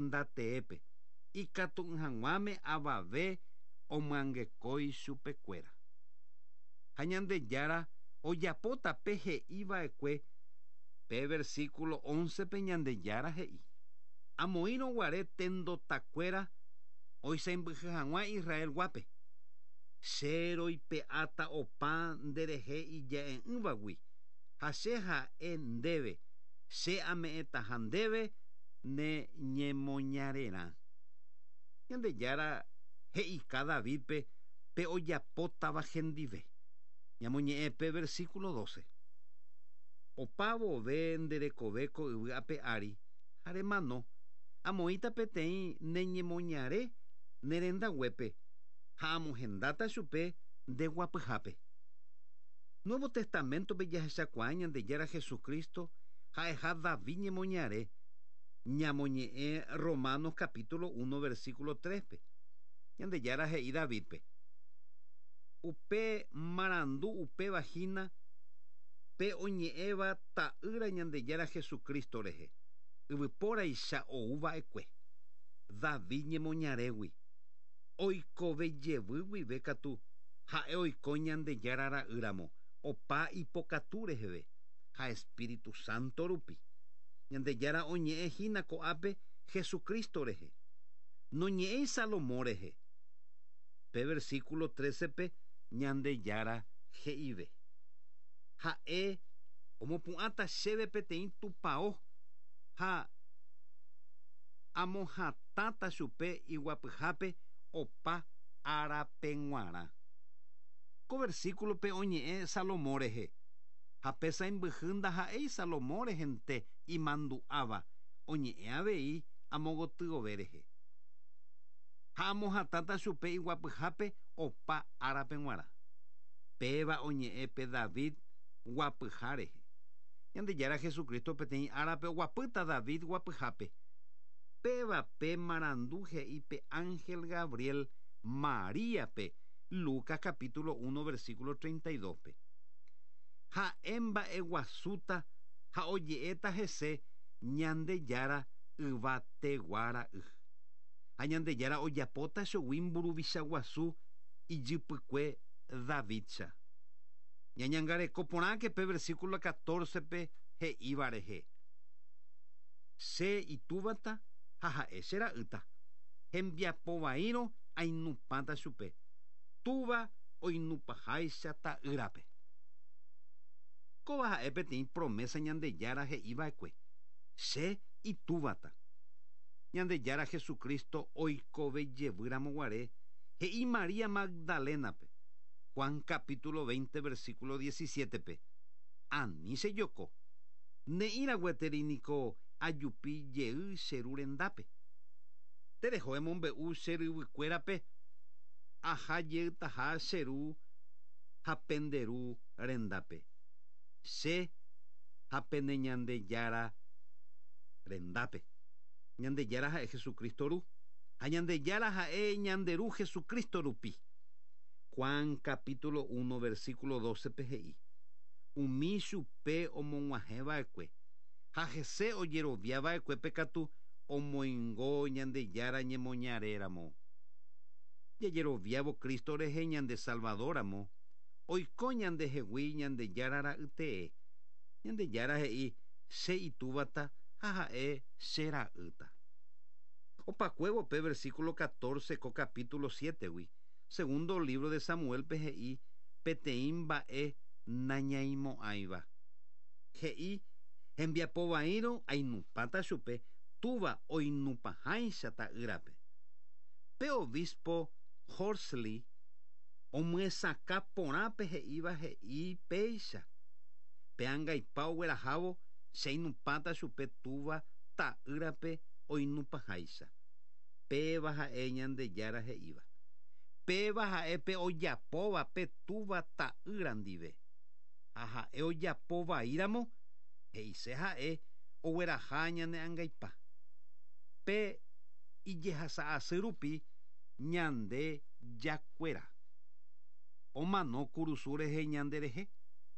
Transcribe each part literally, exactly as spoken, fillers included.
Ndateépe ikatu'ỹ avave omyangekói chupekuéra. Ha Ñandejára ojapóta pe he'iva'ekue pe versículo once pe Ñandejára he'i. Amoĩrõguare tendotakuéra oisãmbyhy hag̃ua Israel guápe. Che roipe'áta opa nderehe ija'e'ỹvagui ha che ha'e ndéve che ame'ẽtaha ndéve ne ñemoñarerã. Ñandejára he'ika Davidpe pe ojapótava hendive. Ñamoñe'ẽ pe versículo doce. Opa vove nderekove ko yvy ape ári ha remano amoĩta peteĩ ne ñemoñare ne rendaguépe ha amohendáta chupe ndeguapyhápe. Nuevo Testamento pe jahechakuaa Ñandejára Jesucristo ha'eha David ñemoñare ñamoñe'ẽ Romanos capítulo uno versículo tres pe. Ñandejára he'i Davidpe. Upe marandu upéva hína pe oñe'ẽva ta'ýra Ñandejára Jesucristo rehe. Yvypóraicha ouva'ekue. David ñemoñarégui. Oikove jevy guive katu ha'e oiko Ñandejára ra'ýramo opa ipokatu reheve ha Espíritu Santo rupi. Ñandejára oñe'ẽ hína ko'ápe Jesucristo rehe. Noñe'ẽi Salomón rehe. Pe versículo trece pe Ñandejára he'ive. Ha'e omopu'ãta chéve peteĩ tupão ha amohatãta chupe iguapyhápe opa árape g̃uarã. Ko versículo pe oñe'ẽ Salomón rehe. Ha pe sãimbyhy ndaha'éi Salomón rehente imandu'áva oñe'ẽ avei amogotyove rehe. Ha amohatãta chupe iguapyhápe opa árape g̃uarã. Péva oñe'ẽ pe David guapyha rehe. Ñandejára Jesucristo peteĩ árape oguapýta David guapyhápe. Péva pe marandu he'i pe ángel Gabriel Maríape Lucas capítulo uno versículo treinta y dos pe. Ha'e mba'eguasúta ha oje'éta hese Ñandejára yvateguara'y. Ha Ñandejára ojapóta chugui mburuvicha guasu ijypykue Davidcha. Ñañangareko porãke pe versículo catorce pe he'íva rehe. Che itúvata ha ha'e che ra'ýta. Hembiapovaírõ ainupãta chupe. Túva oinupaháicha ta'ýrape. Kóva ha'e peteĩ promesa Ñandejára he'iva'ekue. Che itúvata. Ñandejára Jesucristo oikove jevýramo guare he'i María Magdalenape. Juan capítulo veinte versículo diecisiete pe. Ani che joko. Ne'ĩra gueteri niko ajupi jey che ru rendápe. Tereho emombe'u che ryvykuérape aha jeytaha che ru ha pende ru rendápe. Che ha pene Ñandejára rendápe. Ñandejára ha'e Jesucristo ru. Ha Ñandejára ha'e ñande ru Jesucristo rupi. Juan capítulo uno versículo doce pe he'i. Umi chupe omog̃uahẽva'ekue ha hese ojeroviava'ekue pe katu omoingo Ñandejára ñemoñaréramo. Jajeroviávo Cristo rehe ñande Salvadoramo, oiko ñandehegui Ñandejára ra'ytee. Ñandejára he'i che itúvata ha ha'e che ra'ýta. Opakuévo pe versículo catorce ko capítulo siete gui. Segundo libro de Samuel pe he'i peteĩ mba'e nañaimo'ãiva. He'i hembiapovaírõ ainupãta chupe túva oinupãháicha ta'ýrape. Pe obispo Horsley omyesakã porã pe he'íva he'i péicha. Pe angaipa oguerahávo che ainupãta chupe túva ta'ýrape oinupãháicha. Péva ha'e Ñandejára he'íva. Péva ha'e pe ojapóva pe túva ta'ýra ndive. Ha ha'e ojapovaíramo he'ise ha'e ogueraha ñane angaipa. Pe ijehasa'asy rupi ñande jakuéra. Omano kurusu rehe ñande rehe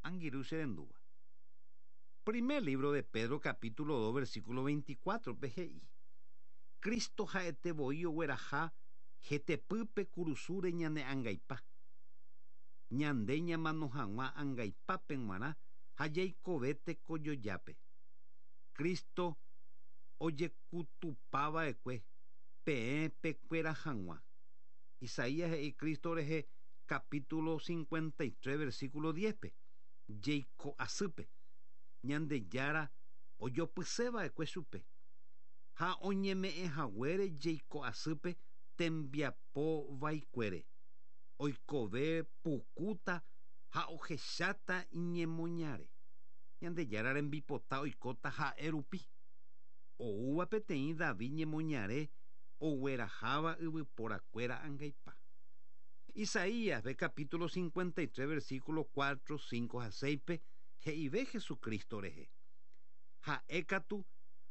angirũ che rendúva. Primer libro de Pedro capítulo dos versículo veinticuatro pe he'i. Cristo ha'ete voi ogueraha hetepýpe kurusúre ñane angaipa. Ñande ñamano hag̃ua angaipápe g̃uarã ha jaikove tekojojápe. Cristo ojekutupava'ekue peẽ pekuéra hag̃ua. Isaías he'i Cristo rehe capítulo cincuenta y tres versículo diez-pe jeiko asýpe Ñandejára ojopyseva'ekue chupe ha oñeme'ẽhaguére jeiko asýpe tembiapo vaikuére oikove pukúta ha ohecháta iñemoñare. Ñandejára rembipota oikóta ha'e rupi oúva peteĩ David ñemoñare ogueraháva yvyporakuéra angaipa. Isaías ve capítulo cincuenta y tres versículo cuatro, cinco ha seis-pe he'ive Jesucristo rehe. Ha'e katu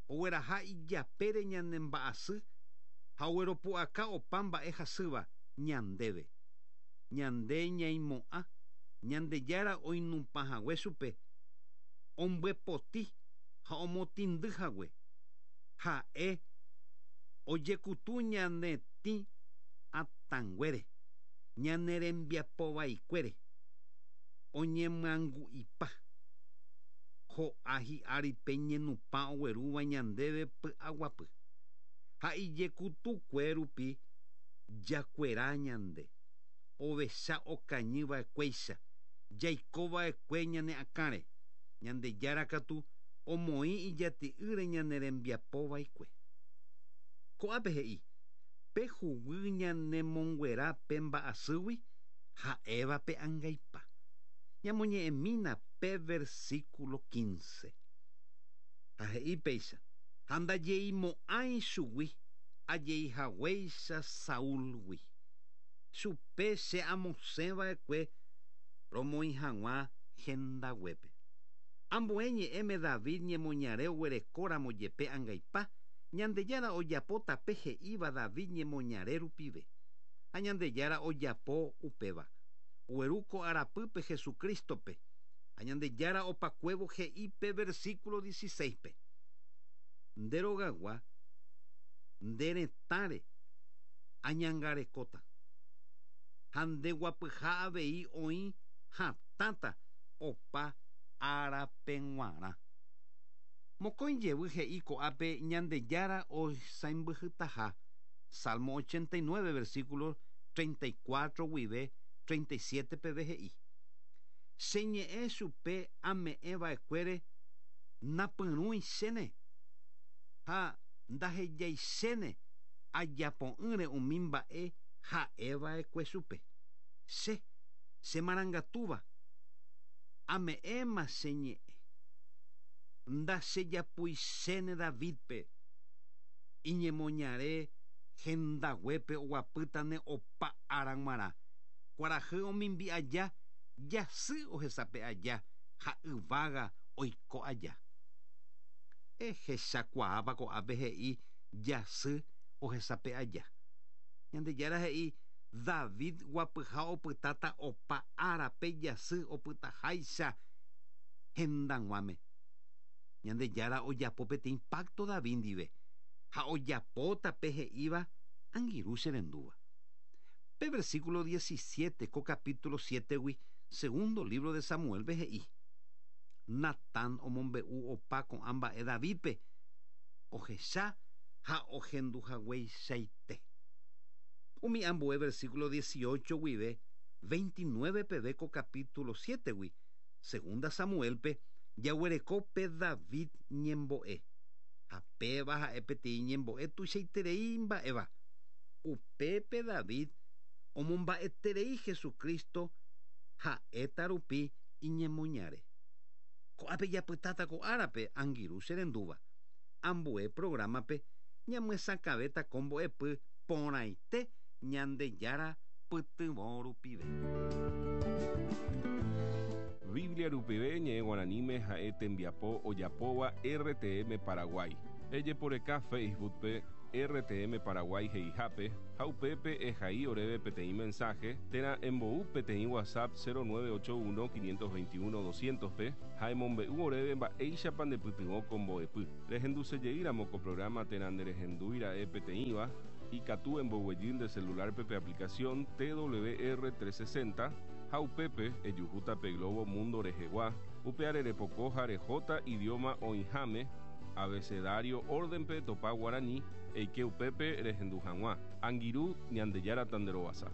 ogueraha ijapére ñanemba'asy ha ogueropu'aka opa mba'e hasýva ñandéve. Ñande ñaimo'ã Ñandejára oinupãhague chupe ombyepoti ha omotĩndyhague. Ha'e ojekutu ñane tĩ atãnguére ñane rembiapovaikuére oñemyangu'ipa ho'a hi'ári pe ñenupã oguerúva ñandéve py'aguapy ha ijekutukue rupi jakuera ñande ovecha okañyva'ekuéicha jaikova'ekue ñane akãre Ñandejára katu omoĩ ijati'ýre ñane rembiapovaikue. Ko'ápe he'i pe huguy ñanemonguera pe mba'asýgui ha'éva pe angaipa. Ñamoñe'ẽmína pe versículo quince. Ha he'i péicha ha ndajeimo'ãi chugui ajeihaguéicha Saúlgui. Chupe che amosẽva'ekue romoĩ hag̃ua hendaguépe. Ambue ñe'ẽme David ñemoñare oguerekóramo jepe angaipa Ñandejára ojapo tape he'íva David ñemoñare rupive. Ha Ñandejára ojapo upéva. Oguerúko arapýpe Jesucristo-pe. Ha Ñandejára opakuévo he'i pe versículo dieciséis-pe. Nde rogagua nde retãre añangarekóta. Ha nde guapyha avei oĩ hatãta opa árape g̃uarã. Mokõi jevy he'i ko'ápe Ñandejára oisãmbyhytaha. Salmo ochenta y nueve versículo treinta y cuatro guive treinta y siete peve he'i. Che ñe'ẽ chupe ame'ẽva'ekuére napyrũichéne ha ndahejaichéne ajapo'ỹre umi mba'e ha'eva'ekue chupe. Che, che marangatúva, ame'ẽma che ñe'ẽ. Ndachejapuichéne Davidpe iñemoñare hendaguépe oguapýtane opa ára g̃uarã. Kuarahy omimbi aja, jasy ohesape aja ha yvága oiko aja. Ehechakuaápa ko'ápe he'i jasy ohesape aja. Ñandejára he'i David guapyha opytáta opa árape jasy opytaháicha hendag̃uáme. Ñandejára ojapo peteĩ pacto David ndive ha ojapóta pe he'íva angirũ che rendúva. Pe versículo diecisiete ko capítulo siete-gui segundo libro de Samuel-pe he'i. Natán omombe'u opa ko'ã mba'e Davidpe ohecha ha ohenduhagueichaite. Umi ambue versículo dieciocho guive veintinueve peve ko capítulo siete-gui segunda Samuel-pe jaguereko pe David ñembo'e. Ha péva ha'e peteĩ ñembo'e tuichaiterei mba'éva. Upépe David omomba'eterei Jesucristo ha'éta rupi iñemoñare. Ko'ápe japytáta ko árape angirũ che rendúva. Ambue programa-pe ñamyesakãvéta ko mbo'epy porãite Ñandejára pytyvõ rupive. Biblia rupive ñe'ẽ guaraníme ha'e tembiapo ojapóva R T M Paraguay. Ejeporeka Facebook-pe R T M Paraguay he'ihápe ha upépe ehai oréve peteĩ mensaje térã embou peteĩ WhatsApp cero nueve ocho uno quinientos veintiuno doscientos pe ha emombe'u oréve mba'éichapa ndepytyvõ ko mbo'epy. Rehendusejeýramo ko programa térã nderehendúira'e peteĩva, ikatu emboguejy nde celular pe aplicación T W R trescientos sesenta ha upépe ejuhúta pe globo mundo rehegua, upe repoko ha rehóta idioma oĩháme abecedario órdenpe topa guaraní eike upépe rehendu hag̃ua. Angirũ, Ñandejára tanderovasa.